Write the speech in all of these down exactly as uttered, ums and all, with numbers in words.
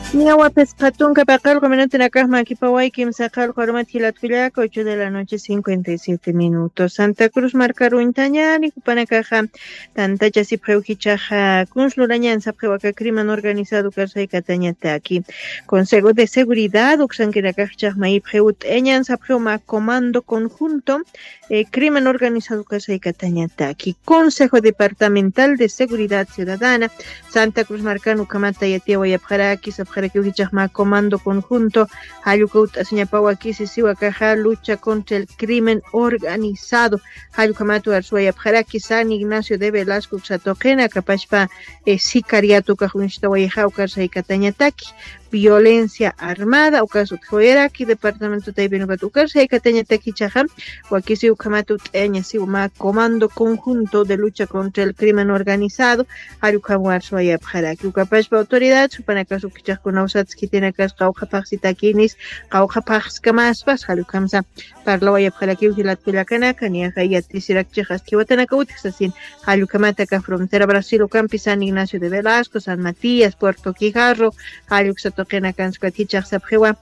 Ñawa phisqa tunka paqallqu minutunakax makipawaykim saqallqu arumat jilatkullaka, ocho de la noche cincuenta y siete minutos. Santa Cruz markaruñtañani jupanakaxa tantachasipxiw jichaxa kunslurañan sapxiw aka crimen organizado karsaykatañataki. Consejo de Seguridad uksankinakax jichax mayipxiw t'eñan sapxiw mä comando conjunto eh, crimen organizado kasaykatañataki. Consejo Departamental de Seguridad Ciudadana Santa Cruz markan ukhamata yatiyawayapxaraki sapxarakiw jichaxma comando conjunto jallukawt'asiñapawakisi siwakaxa lucha contra el crimen organizado jallukhamata arsuwayapxaraki San Ignacio de Velasco uksatuqina kapachpa eh, sicariato ukax uñstawayxa ukasaykatañataki violencia armada ukas utjawayaraki departamento taypin ukat ukasaykatañataki jichaxa wakisi ukhamata ut'aña siwa mä comando conjunto de lucha contra el crimen organizado jallukam warsuwayapxaraki ukapachpa autoridad supanakas ukichaxkunaw satskitinakas qawqhapaxsitakinis qawqhapaxskamaspas jallukamsa parlawayapxarakiw jilatkullakanaka niyaxa yatisirakchix aski watanaka utjsasin jallukhamata aka frontera Brasil ukampi San Ignacio de Velasco, San Matías, Puerto Quijarro, jalluksa tuqinakansukat jichaxsapxiwa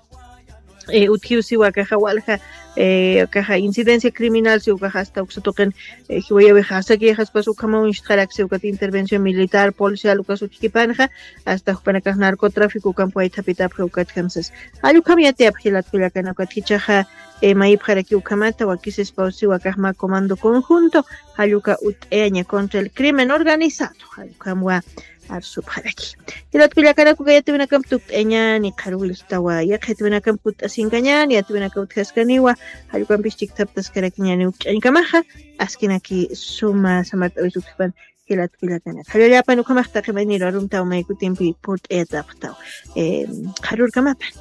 eh, utjiw siwa kaxa walja eh, kaxa incidencia criminal siw kaxa hasta uksa tuqin eh, jiwayawixa asakixaspas ukhamaw inxtxarak siwkat intervención militar policial ukas utjkipanxa hasta jupanakax narcotráfico ukampi waythapitapxi ukat kamsas jallukam yatiyapxi jilatkullakana ukat jichaxa eh, mayipxaraki ukhamata wakisispaw siwa kaxma comando conjunto jalluka ut'aña contra el crimen organizado jallukamwa arsupxaraki jilatkullakanakuka yatiwinakamp tukt'añani qharwilltawa yaq yatiwinakamp kut'asinkañani yatiwinaka utjaskaniwa jallukampis chikthaptaskarakiñani ukch'añkamaxa askinaki suma samart'awis utjapan jilatkullakanaka jallallapan ukhamax taqi mayniru arumtaw maykutimpi purt'ayatapxtaw qharurkamapan